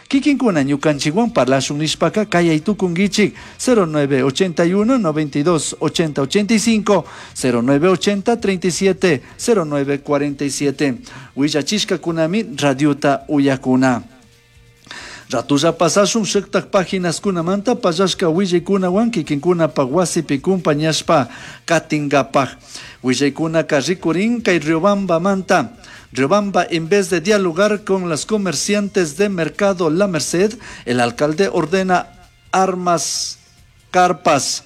Kikinkuna ñukanchikwan parlashun nishpaka kayay tukunkichik 0981 92 80 85 0980 37 09 47 willachishkakunami radiota uyakuna. Ratulla pasashun shuktak paginaskunamanta pallashka willaykunawan kikinkunapaq wasipi kumpañashpa katinkapak. Willaykunaka rikurin kay Riobambamanta. Riobamba, en vez de dialogar con las comerciantes de Mercado La Merced, el alcalde ordena armas, carpas,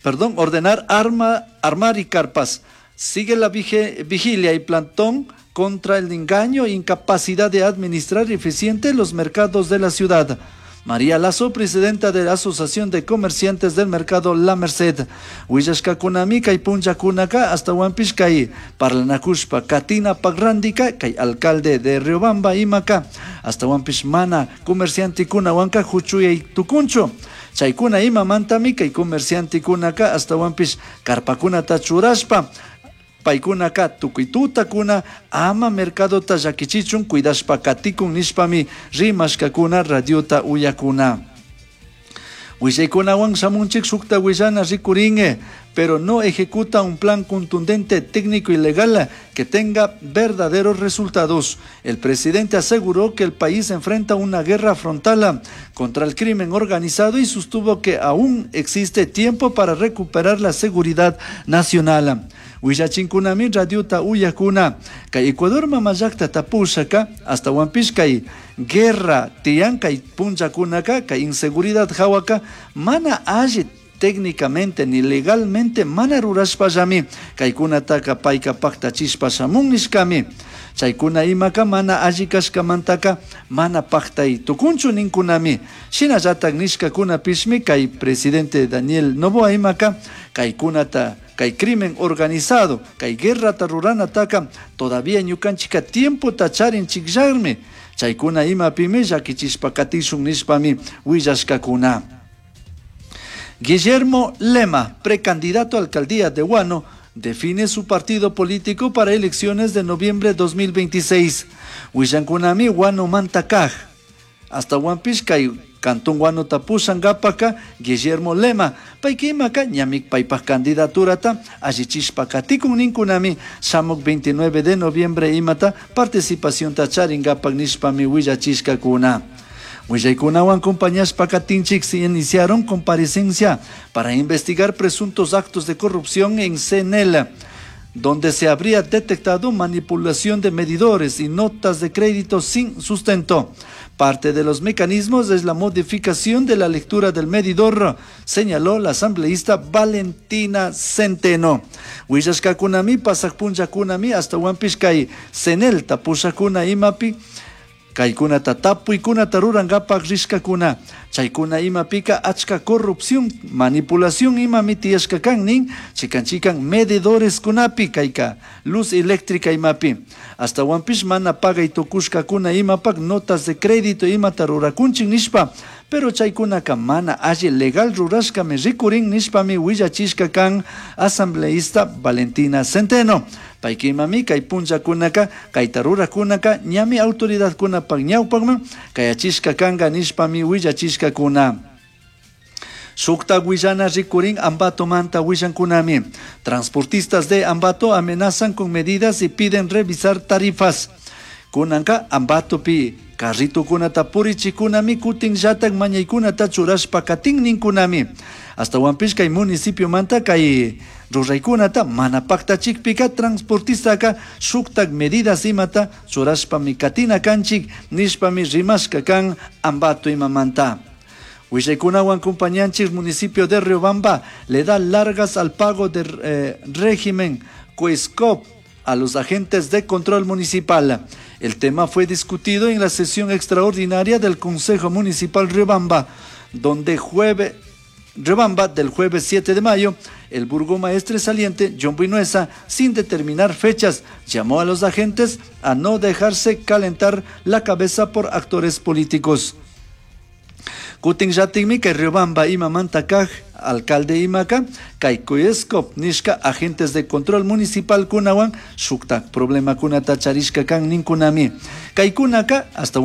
perdón, ordenar arma, armar y carpas. Sigue la vigilia y plantón contra el engaño e incapacidad de administrar eficiente los mercados de la ciudad. María Lazo, presidenta de la Asociación de Comerciantes del Mercado La Merced. Willashkakunami kay punllakunaka ashtahuanpish kay parlanakushpa katina pagrandika kay alcalde de Riobamba imaka ashtahuanpish mana comerciantekunawanka huchuyay tukunchu. Chaykuna imamantami kay comerciantekunaka ashtahuanpish karpakunata churashpa paykunaka tukuy tutakuna ama mercadota llakichichun cuidashpa katikun nishpami rimashkakuna radiota uyakuna. Willaykunawan shamunchik shukta willana rikurin, pero no ejecuta un plan contundente, técnico y legal que tenga verdaderos resultados. El presidente aseguró que el país enfrenta una guerra frontal contra el crimen organizado y sostuvo que aún existe tiempo para recuperar la seguridad nacional. Willachinkunami radiota uyakuna. Kay Ecuador mamallakta pushaka ashtahuanpish kay guerra tiyan kay punllakunaka kay inseguridad hawaka mana alli técnicamente ni legalmente mana rurashpallami kaykunataka payka paktachishpa shamun nishkami. Chaykuna imaka mana alli kashkamantaka mana paktay tukunchu ninkunami. Shinallatak nishkakunapishmi kay presidente Daniel Noboa imaka kaykunata kay crimen organizado, kay guerrata ruranataka todavía ñukanchika tiempota charinchikllami. Chaykuna imapimi llakichishpa katishun nishpami willashkakuna. Guillermo Lema, precandidato a alcaldía de Huano, define su partido político para elecciones de noviembre 2026. Willankunami Huano Mantakaj. Ashtahuanpish kay Cantón Huano tapushankapaka Guillermo Lema. Payka ñami paypak candidaturata allichishpa katikun ninkunami shamuk 29 de noviembre imata participacionta charinkapak nishpami willachishkakuna. Willaykunawan compañías katinchik se iniciaron comparecencia para investigar presuntos actos de corrupción en CNL, donde se habría detectado manipulación de medidores y notas de crédito sin sustento. Parte de los mecanismos es la modificación de la lectura del medidor, señaló la asambleísta Valentina Centeno. Willashkakunami, pasak punllakunami, ashtahuanpish kay CNEL tapushakuna imapi, kaykunata tapuykunata rurankapak rishkakuna. Chaykuna imapika achka corrupción, manipulación imami tiyashka kan nin, chikan chikan medidores kunapi kayka luz eléctrica imapi. Ashtahuanpish mana pagay tukushkakuna imapak notas de crédito imata rurakunchik nishpa, pero chaykunaka mana alli legal rurashkami rikurin nishpami willachishka kan asambleísta Valentina Centeno. Payka imami kay punllakunaka kayta rurakunaka ñami autoridadkunapak ñawpakman kayachishka kanka nishpami willachishkakuna. Shukta willana rikurin Ambato manta willankunami. Transportistas de Ambato amenazan con medidas y piden revisar tarifas. Kunanka Ambatopi carritokunata purichikunami kutinllatak mañaykunata churashpa katin ninkunami. Ashtahuanpish kay municipio manta kay ruraykunata mana paktachikpika transportistaka shuktak medidas imata churashpami katina kanchik nishpami rimashka kan Ambato imamanta. Willaykunawan compañanchik municipio de Riobamba le da largas al pago del régimen COESCOP a los agentes de control municipal. El tema fue discutido en la sesión extraordinaria del Consejo Municipal Riobamba, donde jueves Riobamba del jueves 7 de mayo, el burgomaestre saliente John Vinuesa, sin determinar fechas, llamó a los agentes a no dejarse calentar la cabeza por actores políticos. Kutinllatikmi kay Riobamba imamanta kaj alcalde imaka kay COESCOP nishka agentes de control municipal kunawan shuktak problemakunata charishka kan ninkunami. Kaykunaka hasta